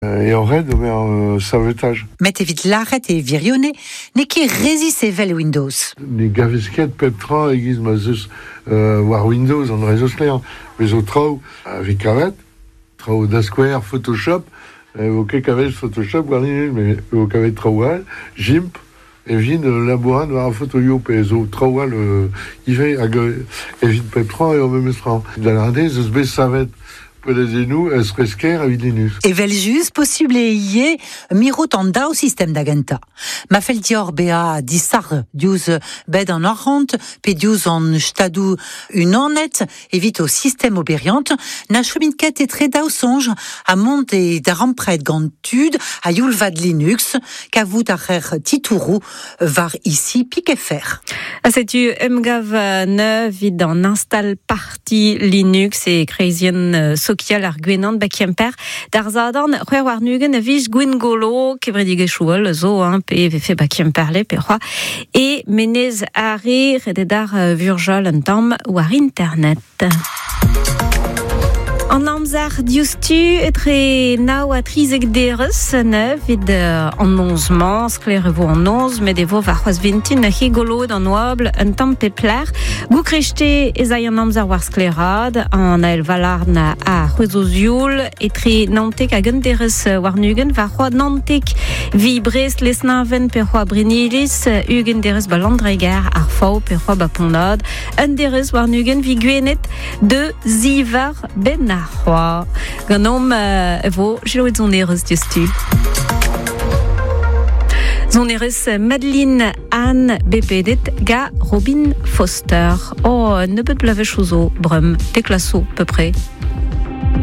Eo ret ober savetaj. Met evit lâret e wirionez n'eo ket rezis evel Windows. Ne gavez ket pep tra e-giz ma 'z eus war Windows an dra zo sklaer. Bez zo traoù a vez kavet, traoù da skouer Photoshop, ne vo ket kavet Photoshop war Linux, met e vo kavet traoù all, GIMP, evit labourat war ar fotoioù pe zo traoù all ivez hag evit pep tra eo memes tra. Da lâret eo ez eus bet savet Poelladennoù eus-fresker evit Linux. Evel-just, posubl eo ivez mirout an daou sistem da gentañ. Ma fell deoc'h bezañ disac'h diouzh bed an arc'hant pe diouzh an Stadoù Unanet evit ho sistem oberiant, na chomit ket etre daou soñj ha mont e darempred gant tud a-youl vat Linux, kavout a reer titouroù war ici pik.fr. Ha setu emgav neuf evit an install Ti Linux e kreizienn sokial ar Gwenan ba Kemper. D'ar Sadorn, 26 a viz Gwengolo, kevredigezhioù all zo, hein, pe vefe ba Kemperle pe c'hoazh, e Menez Are, redet ar Vurjal un tamm war internet. An amzer diouzhtu etre nav ha 13 derez neuf evit an noz-mañ. Sklaer e vo an noz, met e vo warc'hoazh vintin he goloet an oabl un tamm pep lec'h. Goukreste ez ay an amzer war sklaeraat, an ael Valarn a c'hwezo zioul etre 19 hag un derez warn-ugent, war c'hoaz 19 vi Brest, Lesneven pe c'hoaz Brenniliz, 20 derez ba Landreger, ar Faou pe c'hoaz ba Pont-Aod, un derez warn-ugent vi Gwened, de zivar ben ar c'hoaz. Ganeomp e vo selaouet sonerezh diouzhtu. Sonerezh Madeline Anne bepedet ga Robin Foster. Oh, nebeut bloavezhioù zo, breum, te klasoù, peu près.